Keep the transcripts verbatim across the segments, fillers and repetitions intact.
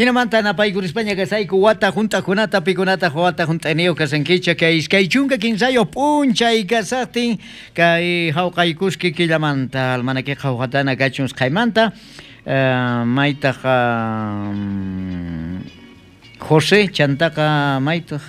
Hinamanta napaykurispaña kasayku wata hunt'aqkunata pikunataq wata hunt'ayniyuq kasankichik kay iskay chunka kinsayuq p'unchay kasaqtin kay hawqaykuski killamanta almanakiqa hawqatana kachun usqhaymanta maytaq José chantaqa maytaq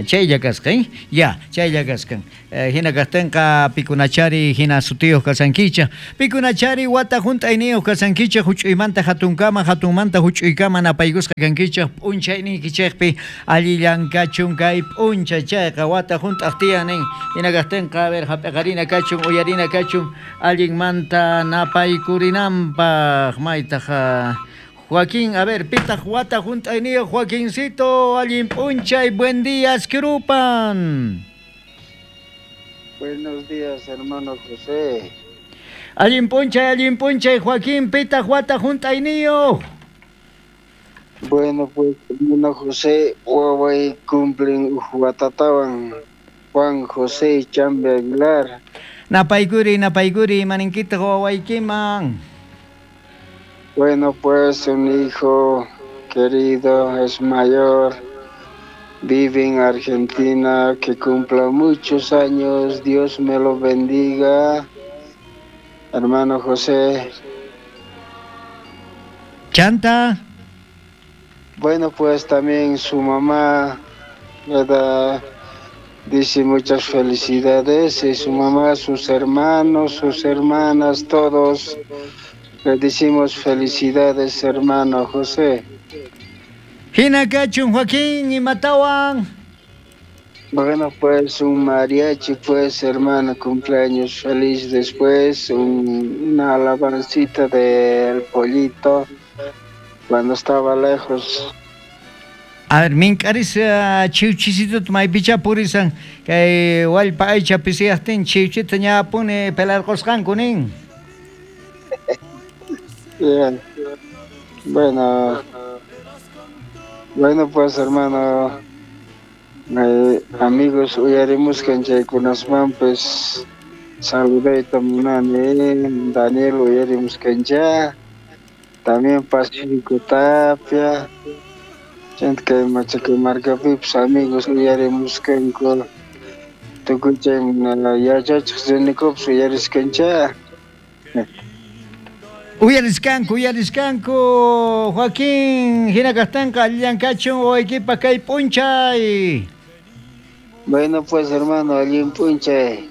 chaylla kasqa, ya, chaylla kaskan. Hina kaqtinqa pikunachari hina sutiyuq kasankichik, pikunachari wata hunt'ayniyuq kasankichik, huch'uymanta hatunkama, hatunmanta huch'uykama napaykusqa kankichik p'unchayniykichikpi allillan kachun kay p'unchay chayqa wata hunt'aq tiyan nin. Hina kaqtinqa a ver hap'iqarina kachun, uyarina kachun allinmanta napaykurinanpaq maytaq Joaquín, a ver, pitaq wata hunt'ayniyuq Joaquincito, allin p'unchay, buen día, Askrupan. Buenos días, hermano José. Allin p'unchay, allin p'unchay, Joaquín, pitaq wata hunt'ayniyuq. Bueno, pues, hermano José, waway cumplen watatawan Juan José Chambi Aguilar. Napaykuri, napaykuri, imaninkitaq wawaykiman. Bueno, pues un hijo querido, es mayor, vive en Argentina, que cumpla muchos años, Dios me lo bendiga, hermano José. Chanta. Bueno, pues también su mamá, ¿verdad? Dice muchas felicidades, y su mamá, sus hermanos, sus hermanas, todos. Le decimos felicidades, hermano José. Hina kachun, Joaquín, imatawan. Bueno, pues un mariachi, pues, hermano, cumpleaños feliz después, un, una alabancita del pollito, cuando estaba lejos. A ver, mink'aris chiwchisituta maypichá purisan, kay wallpa aycha pisiyaqtin chiwchita ñapuni pelarqusqanku nin. Bien. Bueno, bueno pues hermano, eh, amigos, uyarimus kanchaykunasman pues saludayta munani, Daniel uyarimus kancha, también Pacífico Tapia, chanta kay Machacamarcapi pues amigos uyarimus kanku, tukuy chay yachachik rinikupas uyariskancha. Uyariskanku, uyariskanku, Joaquín, hina kaqtinqa allillan kachun wawaykipaq kay p'unchay. Bueno pues hermano, allin p'unchay.